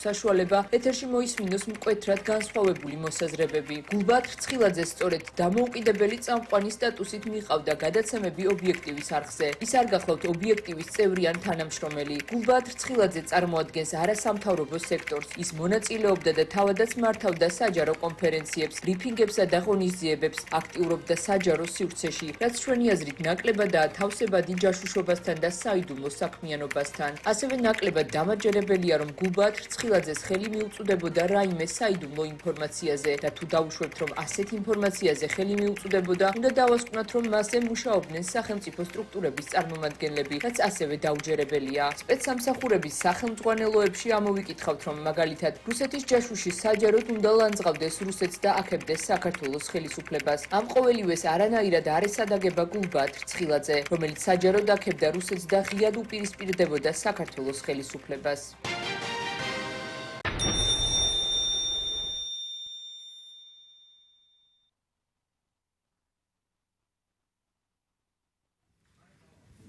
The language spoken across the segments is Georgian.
საშუალება ეთერში მოისმინოს მკვეთრად განსხვავებული მოსაზრებები. გულბაათ რცხილაძე სწორედ დამოუკიდებელი წამყვანი სტატუსით მიყავდა გადაცემები ობიექტივის არხზე. ის არ გახლავთ ობიექტივის წევრი ან თანამშრომელი. გულბაათ რცხილაძე წარმოადგენს არასამთავრობო სექტორს. ის მონაწილეობდა და თავადაც მართავდა საჯარო კონფერენციებს, ბრიფინგებსა და ღონისძიებებს, აქტიურობდა საჯარო სივრცეში, რაც ჩვენი აზრით ნაკლებადაა თავსებადი ჯაშუშობასთან და საიდუმლო საქმიანობასთან. ასევე ნაკლებად დამაჯერებელია, რომ გულბაათ რცხილაძეს ხელი მიუწვდებოდა რაიმე საიდუმლო ინფორმაციაზე და თუ დავუშვებთ, რომ ასეთ ინფორმაციაზე ხელი მიუწვდებოდა, უნდა დავასკვნათ, რომ მასზე მუშაობდნენ სახელმწიფო სტრუქტურების წარმომადგენლები, რაც ასევე დაუჯერებელია. სპეცსამსახურების სახელმძღვანელოებში ამოვიკითხავთ, რომ მაგალითად რუსეთის ჯაშუში საჯაროდ უნდა ლანძღავდეს რუსეთს და აქებდეს საქართველოს ხელისუფლებას. ამ ყოველივეს არანაირად არ ესადაგება გულბაათ რცხილაძე, რომელიც საჯაროდ აქებდა რუსეთს და ღიად უპირისპირდებოდა საქართველოს ხელისუფლებას.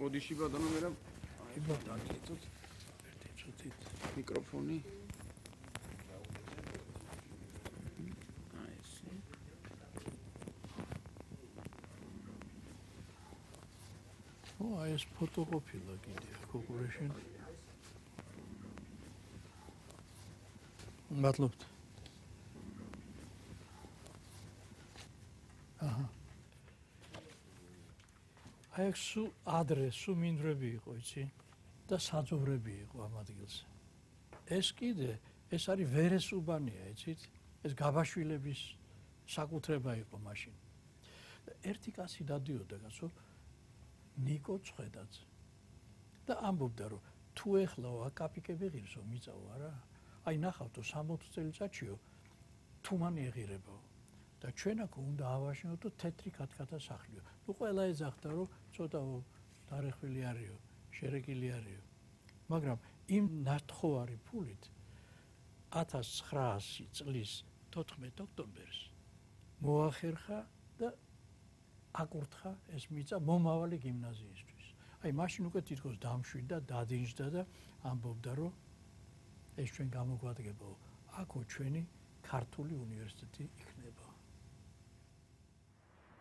Bodishi badano mera mikrofoni. Oh, ეს ფოტოკოპია კიდე კოპურეშენ. მადლობთ. აჰა. აი სუ ადრესუ მინდვრები იყო, იცი? და საძოვრები იყო ამ ადგილზე. ეს კიდე, ეს არის ვერესუბანია, იცით? ეს გაბაშვილების საკუთრება იყო მაშინ. ერთი კაცი დადიოდა, კაცო, ნიკო ცხედაძე. და ამბობდა, რომ თუ ეხლა აკაპიკები ღირსო მიწაო არა? აი ნახავთო 60 წელიწადშიო თუ მან ეღირებაო. და ჩვენ აქ უნდა ავაშინოთ თეთრი კათკათა სახლიო. ნუ ყველა ეძახდა, რომ ცოტა დარეხვილი არისო, შერეკილი არისო. მაგრამ იმ ნათხოვარი ფულით 1900 წლის 14 ოქტომბერს მოახერხა და აკურთხა ეს მიწა მომავალი გიმნაზიისთვის. აი მაშინ უკვე თითქოს დამშვიდა, დადინჯდა და ამბობდა, რომ ეს ჩვენ გამოგვადგებაო, აქო ჩვენი ქართული უნივერსიტეტი იქნება.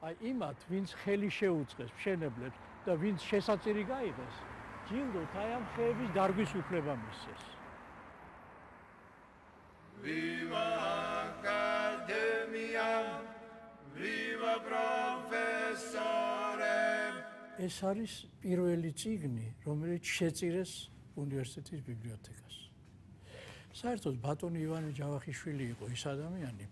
აი იმათ, ვინც ხელი შეუწყეს მშენებლებს და ვინც შესაწირი გაიღეს, ჯილდოთ აი ამ ხეების დარგვის უფლება მისცეს. Viva Academia, viva professore. ეს არის პირველი წიგნი, რომელიც შეწირეს უნივერსიტეტის ბიბლიოთეკას. საერთოდ ბატონი ივანე ჯავახიშვილი იყო ის ადამიანი,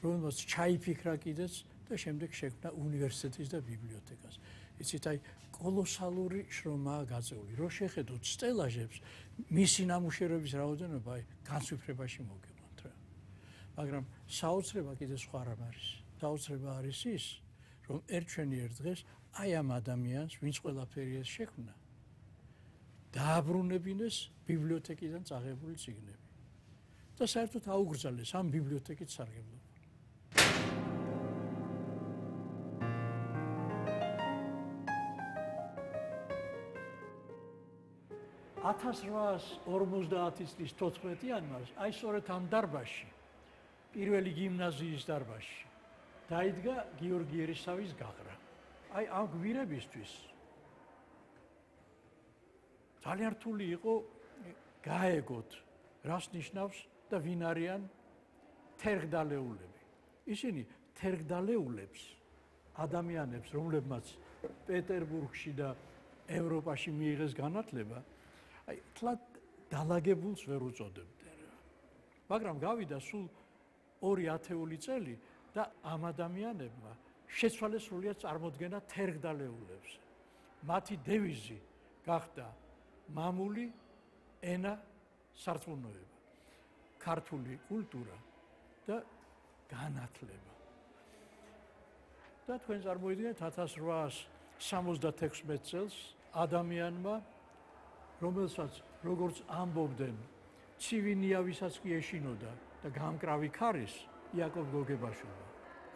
რომელსაც ჩაიფიქრა კიდეც და შემდეგ შექმნა უნივერსიტეტის და ბიბლიოთეკას. იცით, აი კოლოსალური შრომაა გაწეული. რო შეხედოთ სტელაჟებს, მისი ნამუშევრების რაოდენობა აი განსვიფრებაში მოგეყვანთ რა. მაგრამ საოცრება კიდე სხვა რამ არის. საოცრება არის ის, რომ ერთ დღეს აი ამ ადამიანს, ვინც ყველაფერი ეს შექმნა, დააბრუნებინეს ბიბლიოთეკიდან წაღებული წიგნები. და საერთოდ აუგრძალეს ამ ბიბლიოთეკით სარგებლობა. 1850 წლის 14 იანვარს აი სწორედ ამ დარბაზში, პირველი გიმნაზიის დარბაზში დაიდგა გიორგი ერისავის გაყრა. აი ამ გვირებისთვის ძალიან რთული იყო გაეგოთ რას ნიშნავს და ვინ არიან თერგდალეულები. ისინი თერგდალეულებს ადამიანებს, რომლებმაც პეტერბურგში და ევროპაში მიიღეს განათლება, აი თლად დალაგებულს ვერ უწოდებდნენ. მაგრამ გავიდა სულ 2 ათეული წელი და ამ ადამიანებმა შეცვალეს სრულიად წარმოდგენა თერგდალეულებს. მათი დევიზი გახდა მამული ენა სარწმუნოება, ქართული კულტურა და განათლება. და თქვენ წარმოიდგინეთ 1876 წელს ადამიანმა, რომელსაც როგორც ამბობდნენ, ცივი ნიავისაც კი ეშინოდა და გამკრავი ქარის იაკობ გოგებაშვილმა.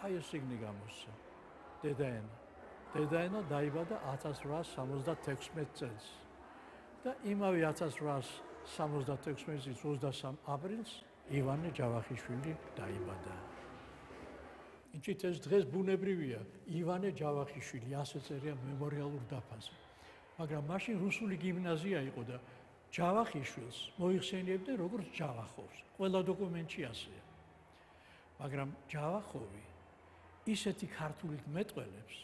აი ეს წიგნი გამოსცა. დედაენა. დაიბადა 1876 წელს. და იმავე 1876 76 წლის 23 აპრილს ივანე ჯავახიშვილი დაიბადა. იცით ეს დღეს ბუნებრივია, ივანე ჯავახიშვილი, ასე წერია მემორიალურ დაფაზე. მაგრამ მაშინ რუსული გიმნაზია იყო და ჯავახიშვილს მოიხსენიებდნენ როგორც ჯავახოვს. ყველა დოკუმენტში ასეა. მაგრამ ჯავახოვი ისეთი ქართულით მეტყველებს,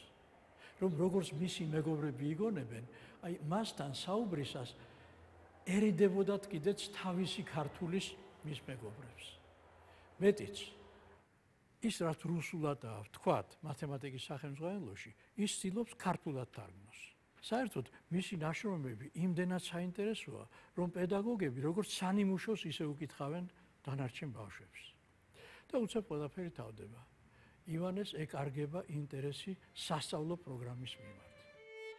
რომ როგორც მისი მეგობრები იგონებენ, აი მასთან საუბრისას ერიდებოდათ კიდეც თავისი ქართულის მის მეგობრებს. მეტიც ის რაც რუსულადაა ვთქვათ მათემატიკის სახელმძღვანელოში, ის ცდილობს ქართულად თარგმნოს. საერთოდ მისი ნაშრომები იმდენად საინტერესოა, რომ პედაგოგები როგორც სანიმუშოს ისე უკითხავენ დანარჩენ ბავშვებს. და უცებ ყველაფერი თავდება. ივანეს ეკარგება ინტერესი სასწავლო პროგრამის მიმართ.